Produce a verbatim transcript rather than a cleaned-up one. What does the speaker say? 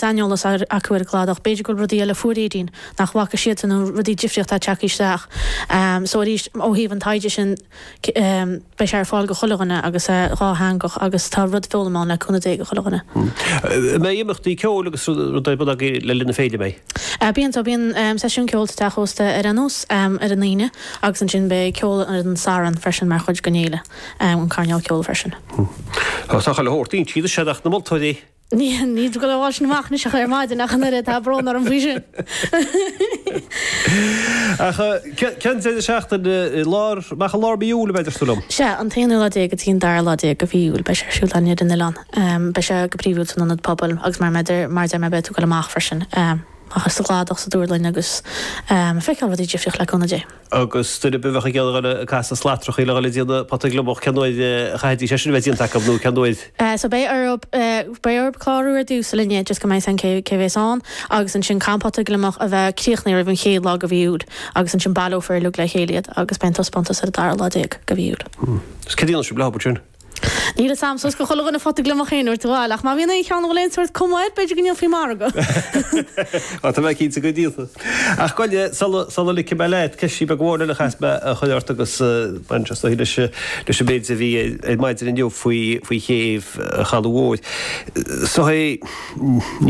saineolas acu ar an gcladach, b'fhéidir go bhfuil rudaí eile fuair Aedín nach bhfaca siadsan nó rudaí difríochta ag teacht isteach. So arís ó thaobh an taighde sin beidh sé ar fáil go chuile dhuine agus dhátheangach agus tá rud foghlama ann le cúnamh Dé go chuile dhuine. An mbeidh imeachtaí ceoil agus rudaí ar bun agaibh le linn na féile, an mbeidh? Bíonn, so bíonn seisiún ceoil sa teach ósta ar aon nós ar an Aoine agus ansin beidh ceol ar an Satharn freisin mar chuid den fhéile, an coirnéal ceoil freisin. Tá chuile shórt inti, is ach na moltóirí. Ní ní go bhfuil sin amach anois ach ar maidin ach an oiread tá brón orm faoi sin. Ach cén deireadh seachtaine i lár, amach i lár mí Iúil a bheidh ar siúl liom? Sea, an t-aonú lá déag go dtí an dara lá déag de mhí Iúil beidh sé ar siúl againn ar an oileán. Beidh sé go príomhúil san ionad pobail agus mar mar mar deir mé beidh tú ag dul amach freisin. Amach sa gcladach sa Dúrlainn agus feiceáil rudaí difríoch le cúnamh Dé. Agus duine ar bith a bheadh ag iarraidh dul ag casadh slatrachaí le dhul ag déanamh pota gliomach cén uair a chaithfidís é sin a bheith déanta acu nó cén uair? So beidh orthu beidh orthu clárú ar dtús a linne just go mbeidh a fhios againn cé cé bhéas ann agus ansin caithfidh an pota gliomach a bheith críochnaithe roimh an chéad lá de mhí Iúil agus ansin baileofar uilig le chéile iad agus beidh an taispeántas ar an dara lá déag de mhí Iúil. Is cad a dhéanfaidh sibh leo sin? Níl a fhios a'm suas go chuile dhuine phota gliomach féin uair amháin, ach má bhíonn aon cheann a bhfuil aon sórt cuma air, b'fhéidir go ndéanfaí margadh. Á, tá mé cinnte go ndéanfaí. Ach gabh i leith, sula, sula ligfidh mé leat, ceist beag amháin eile a chaithfeas mé a chur ort agus baineann sé is dóichí leis, leis an méid a bhí ar maidin inniu faoi, faoi chéibh an Chalaidh Mhóir. So, ní